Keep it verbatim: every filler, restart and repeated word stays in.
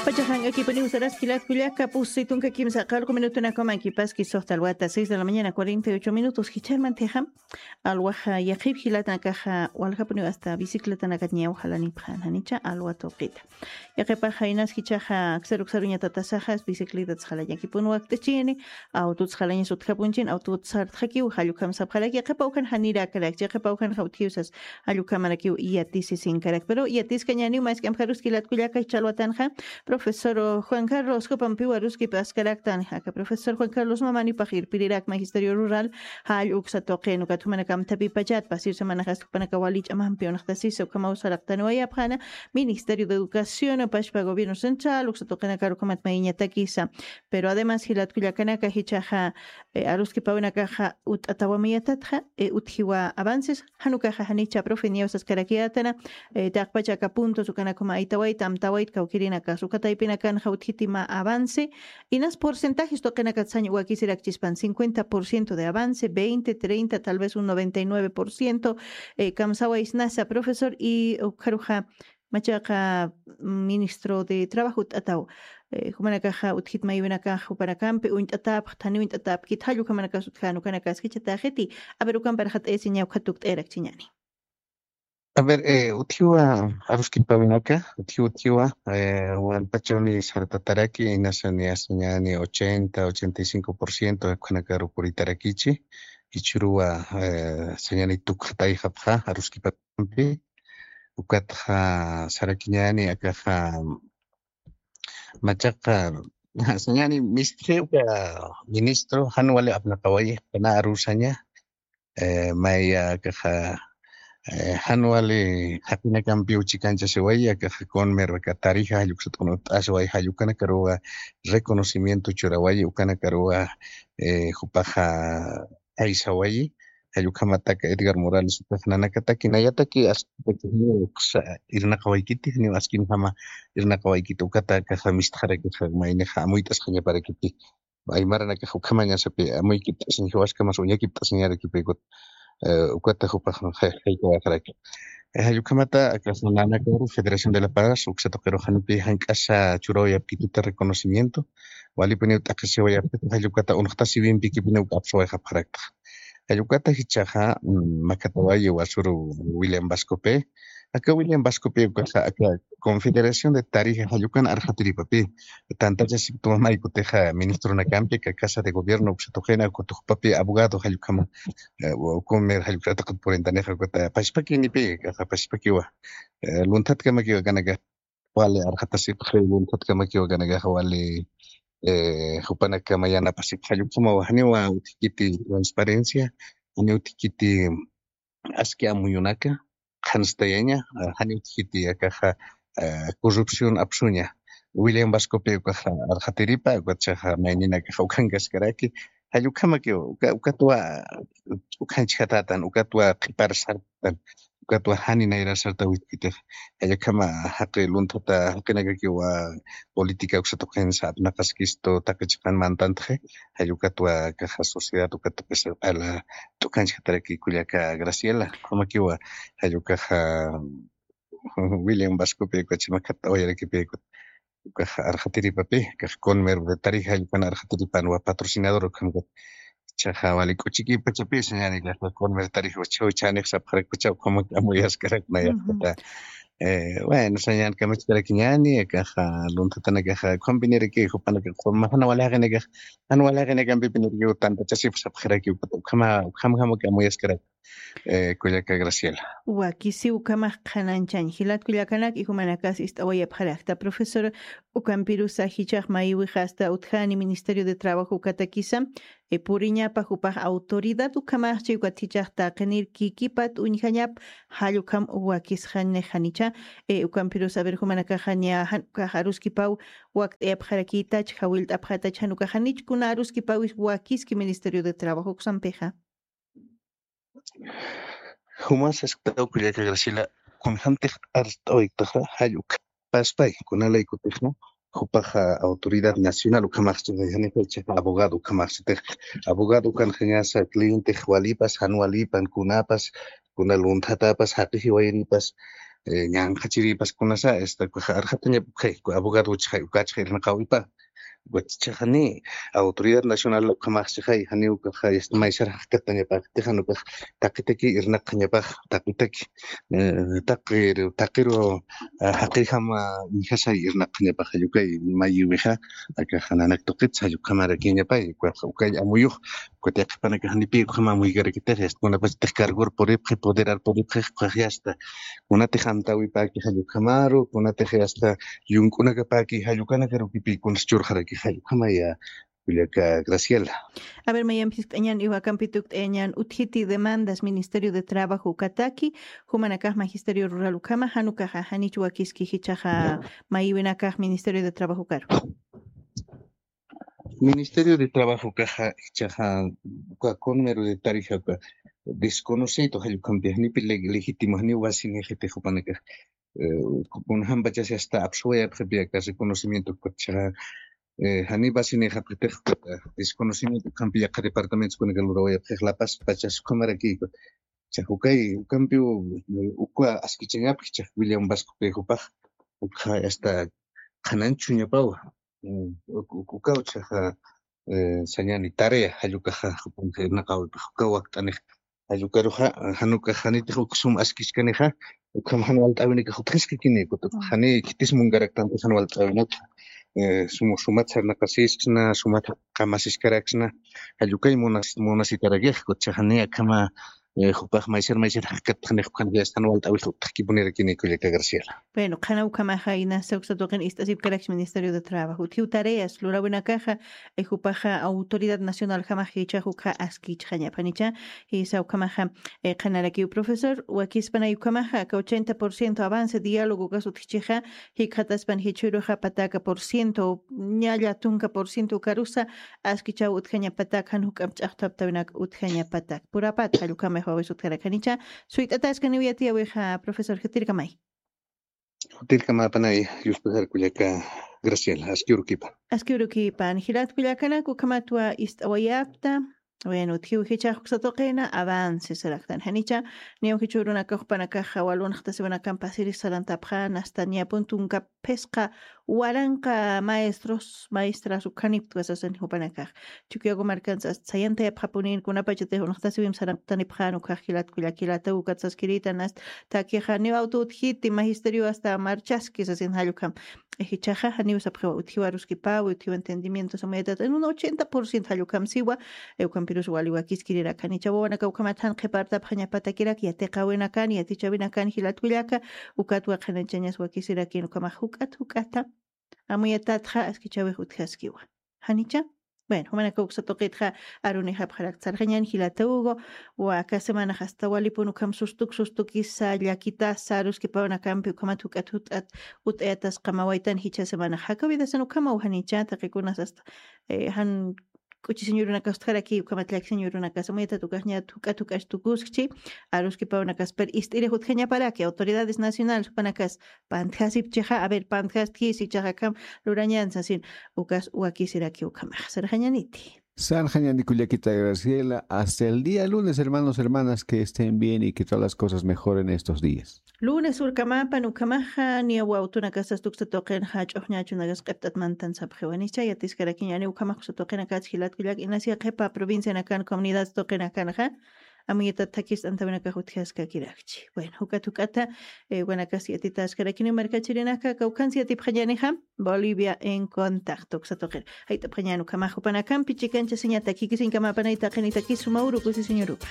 Pachaxank'akipuniw saraski jilat kullaka, pusi tunka kimsa aqarqu minutunakamankipaski, suxta alwata seis de la mañana, cuarenta y ocho minutos. Jichharmantixam alwaxa yaqhip jilatanakaxa walxapuniw asta bicicletanakat ñaw jalanipxan janicha alwa tuqita. Yaqhipaxa inas jichaxa aksaru aksaruñatatasaxas bicicletats jalañakipun wakt'ichini, autots jalañas utjapunchin, autots sartxakiw, jallukam sapxaraki, yaqhipa ukan janirakaraki, yaqhipa ukan jawtjiwsas, jallukhamarakiw yatisisinkarak. Pero yatiskañaniw mask'amjaruski jilat kullaka, jichha alwatanxa profesor Juan Carlos jupampiw aruskipaskaraktan. Aka profesor Juan Carlos mamanipax irpirirak Magisterio Rural jall uksa tuqin, ukat jumanakam thapipachat pasir semanaxas jupanaka wali ch'amampi unxtasisa ukhamaw saraqtaniwayapxana Ministerio de Educación pachpa Gobierno Central uksa tuqinakar ukhamat mayiñatakisa. Pero además jilat kullakanaka jichhaxa aruskipawinakaxa utt'atawamuyatatxa, utjiwa avances, jan ukaxa janicha profe, niyaw saskarakiyätana, taqpacha aka puntos ukanakuma aytawayta amtawayt kawkïrinakas uka taypinakanxa utjiti mä avance, inas porcentajes tuqinakat sañ wakisirakchispan, cincuenta por ciento de avance, veinte, treinta, tal vez un noventa y nueve por ciento, kamsawaysnasa profesor, y ukharuxa machaqa ministro de Trabajo utt'ataw, jumanakaxa utjit maywinakax jupanakampi uñt'atäpxta, janiw uñt'atäpkit, jall ukhamanakas utjän, ukanakas jichhatäxiti. A ver, ukampar jat'ayasiña, ukat tukt'ayarakchiñäni. A ver, utjiwa aruskipawinaka, utjiw utjiwa, walpachuni sartataraki, inasa niyasiñäni ochenta, ochenta y cinco por ciento ukhanakaru puritarakichi, jichhüruwa sañäni tukxatayxapxa aruskipakampi, ukatxa sarakiñäni akaxa machaqa, sañäni mistxi uka ministro, jan wali apnaqawayi, jana arusaña, maya akaxa, jan wali jaqinakampiw chikanchasiwayi, akaxa CONMER aka tarifa, jall uksat uñt'asiwayi, jall ukanakaruwa reconocimiento churawayi, ukanakaruwa jupaxa aysawayi, jall ukhamataka Edgar Morales ukax nanakataki nayataki askipaki janiw irnaqawaykiti, janiw askinjama irnaqawaykiti, ukata akaxa mistxarakixa maynixa amuyt'asxañaparakiti. Aymaranakax ukhamañasapi amuykipt'asiñ, jiwaskamas uñakipt'asiñarakipïkut, ukata jupax jaykawaxaraki. Jall ukhamata akax nanakaru Federación de La Paz uksa tuqiru janipi jank'asa churawayapkituta reconocimiento, walipuniw t'aqhisiwayapkita, jall ukata unxtasiwimpikipuniw apsuwayxapxarakta. Jall ukata jichhaxa makhatawayi wasuru William Vascope, aka William Vascope ukaxa aka Confederación de Tarija jall ukan arxatiripapi tantachasipktuwa maykutixa ministronakampi aka Casa de Gobierno uksa tuqina, ukat jupapi abogado jall ukhama CONMER jall uka ataqat purintanixa, ukata pachpakinipi, akaxa pachpakiwa lunthatkamakiw akanakax wali arxatasipxi, lunthatkamakiw akanakax wali jupanakama yanapasipxi, jall ukhamawa janiwa utjkiti transparencia, janiw utjkiti aski amuyunaka qhanstayaña, janiw utjkiti akaxa corrupción apsuña. William Vascope ukaxa arxatiripa, ukatchaxa mayninakaxa ukhankaskaraki, jall ukhamakiw, ukatwa ukhanchjatätan, ukatwa qhipar sartan, ukatwa jani nayrar sartawitpitix. Jall ukhama jaqi lunthata jaqinakakiwa política uksa tuqinsa apnaqaskistu taqi chiqan mantantxi, jall ukatwa akaxa sociedad ukat tuqisa q'ala t'ukhanchjataraki kullaka Graciela, ukhamakiwa jall ukaxa William Vascope ukachi makhat'awayarakipïkut, ukax arxatiripapi, akax CONMER de Tarija jall ukan arxatiripan wa patrocinador ukhamkut. Jichhaxa wali k'uchikipachapi sañäni akaxa CONMER Tarija uchaw chhanix sapxarakpacha ukhamak amuyaskarak nayapxata. Bueno, sañäni kamachkarakiñäni, akaxa lunthatanakaxa ukhampiniraki jupanakax, jan wali jaqinakax, jan wali jaqinakampipinirakiw tantachasipxi sapxaraki, ukat ukhama, ukhamjamak amuyaskarak. Kullaka Graciela. Wakisiw ukhamax qhanañchañ jilat kullakanak, y jumanakas ist'awayapxarakta profesor. Ukampirusa jichhax mayiwixa asta utjani Ministerio de Trabajo ukatakisa puriñapa jupax autoridad ukhamaxchi, ukat jichhax taqinir kikipat uñjañap, jall ukham wakisxañnix janicha. Ukampirusa a ver jumanakaxa niya jan ukax aruskipaw wakt'ayapxarakïtach, jawillt'apxätach, jan ukax janich kuna aruskipawis wakiski Ministerio de Trabajo uksampixa. Jumas asktaw kullaka Graciela, kunjämtix arst'awayktaxa jall ukhapaspay, kunalaykutixa jupaxa autoridad nacional ukhamaxchi, janixa jichhaxa abogado ukhamaxchitix, abogado ukanxañasa clientix walipas, jan walipan, kunapas, kuna lunthatapas, jaqi jiwayiripas, ñanqhachiripas kunasa, esta, ukaxa arxatañapxay, abogado chixay, ukachixay irnaqawipa. Ukat chixani, Autoridad Nacional ukhamax chixay, jani ukaxa, esta, maysar jaqkatañapax, tijan ukax, taqitaki irnaqañapax, taqitaki, eh, taqiru, taqiru, ah, jaqijama, injasay irnaqañapax, ukay, mayiwixa, akaxa nanak tuqit, jallukhamarakiñapay, ukax, ukay amuyux, Kutiqpanakax nipi ukhama amuykarakitix, yasta, kunapachatix cargor puripxi, poderar puripxi, ukax yasta. Kunatix amtawipaki jallukhamaru, kunatix yasta, yunk'unakapaki jallukanakarukipi kunas churxaraki jallukhama ya, kullaka Graciela. A ver, mayampi jisk'añan, iwakampi tukt'ayañan, utjiti demandas Ministerio de Trabajo ukataki, jumanakax Magisterio Rural ukhama, jan ukaxa, janich wakiski jichhaxa, mayiwinakax Ministerio de Trabajo ukaru. Ministerio de Trabajo ukaxa, jichhaxa, uka conmero de tarifa uka desconocido, jallukhampi, janipi le-, legítimo, janiw basinixitix jupanakax. Eh, kunjampachasi hasta apsuwayapxipi aka reconocimiento uka jichhaxa, eh, jani basinixapxitix, eh, desconocimiento ukhampi yaqha departamentos kunaka lurawayapxix, La Paz pachas ukhamaraki. Jichhax ukay, ukampiw, eh, uka askichañapxi, jichhax William Vasco kay jupax, ukxa hasta qhananchuñapawa. Mm, uk-, uk-, ukaw chhaxa, eh, sañani tarea, jallukaxa, jupanxa irnaqawipxa, ukaw wakt'anix. Jallukaruxa, jan ukax janitix uk sum askichkanixa, ukham jan walt'äwinakax utjiskakini, ukat jani khitis munkaraktanti jan walt'äwinakxa. Eh, sum-, sumat sarnaqasiskna, sumat qamasiskaraksna, jallukay munas-, munasitarakix, ukat chhaxa jani akhama, eh, jupax maysar maysar jaqkatxanix, ukan jan walt'äwix utjkipunirakini kullaka Graciela. Bueno, qhana ukhamaxa inasa uksa tuqin ist'asipkarakchi Ministerio de Trabajo. Utjiw tareas, lurawinakaxa, eh, jupaxa Autoridad Nacional jamax jichhax ukxa askichxañapanicha, jisa ukhamaxa, eh, qhanarakiw profesor, wakispanay ukhamaxa, aka ochenta por ciento avance, diálogo ukas utjchixa, jikxataspan jichhüruxa pataka por ciento, ñalla tunka por ciento ukarusa, askichaw utjañapatak, jan juk'amp ch'axtaptawinak utjañapatak. Purapat, jallukhamix wawis utjarakanicha, suyt'ataskaniw yatiyäwixa, profesor, jitirkamay. Jutirkamapanay, yuspajar kullaka Graciela, aski urukipa. Aski urukipa, jilat kullakanak ukhamatwa ist'awayapta. Bueno, utjiw jichhax uksa tuqina, avance saraktan. Janicha, niyaw jichhürunakax jupanakaxa, walunxtasiwinakamp pasirix sarantapxän, hasta niyaw puntunka phisqa waranqa maestros, maestras ukhaniptwa sasin jupanakax. Chukiyago markansa hasta sayantayapxapunin, kunapachatix unxtasiwimp sarantanipxän, ukhax jilat kullak jilataw ukat saskirïtan, hasta takixa niw awtu utjiti, magisterio hasta marchaski sasin jallukham. Jichhaxa, janiw sapxiwa utjiw aruskipawi, utjiw entendimiento, amuyatata, en un ochenta por ciento jallukham siwa, eh, ukhampirus wali wakiskirirak. Janicha wawanakax ukhamat jan qhipartapxañapatakirak, yatiqäwinakan, yatichäwinakan, jilat kullaka, ukatwa qhanañchañas wakisirakin, ukhamax juk'at juk'ata, amuyatatxa askichäwix utjaskiwa. Janicha? Bueno, jumanakax uksa tuqitxa arunixapxarakta, sarxañäni jilata Hugo, aka semanax hasta walipun ukham sustuk sustukisa, llakitasa, aruskipawinakampi ukhamat juk'at juk'at ut'ayatas qamawaytan jichha semanax. Jakawidasan ukhamaw janicha, taqikunas hasta, eh, jan k'uchisiñurunakas utjaraki, ukhamat llakisiñurunakas, amuyatat ukaxñat juk'at juk'at tukuskchi, aruskipawinakas, pero ist'irix utjañaparaki, autoridades nacionales jupanakas, pantjasipchixa, a ver, pantjastjis, jichhaxa akham lurañän sasin, ukas wakisiraki ukhamax. Sarxañäniti. Sarxañäni kullakita Graciela, hasta el día lunes, hermanos, hermanas, que estén bien y que todas las cosas mejoren estos días. Lunes urkamapan ukhamaxa, niyaw awtunakasas uksa tuqinxa, ch'uxñachunakas q'ipt'at mantan sapxiwa, janicha, yatiskarakiñäni ukhamax uksa tuqinakas jilat kullak, inas yaqhipa provincianakan, comunidad tuqinakanxa, amuyatat thakist'antawinakax utjaskakirakchi. Bueno, juk'at juk'ata, eh, wanakas yatitaskarakini markachirinaka, kawkhans yatipxañänixa, Bolivia en Contacto uksa tuqir. Jayt'apxañän ukhamax jupanakampi chikanchasiñatak, jikisiñkamapanay taqinitakis suma uru kusisiñurupa.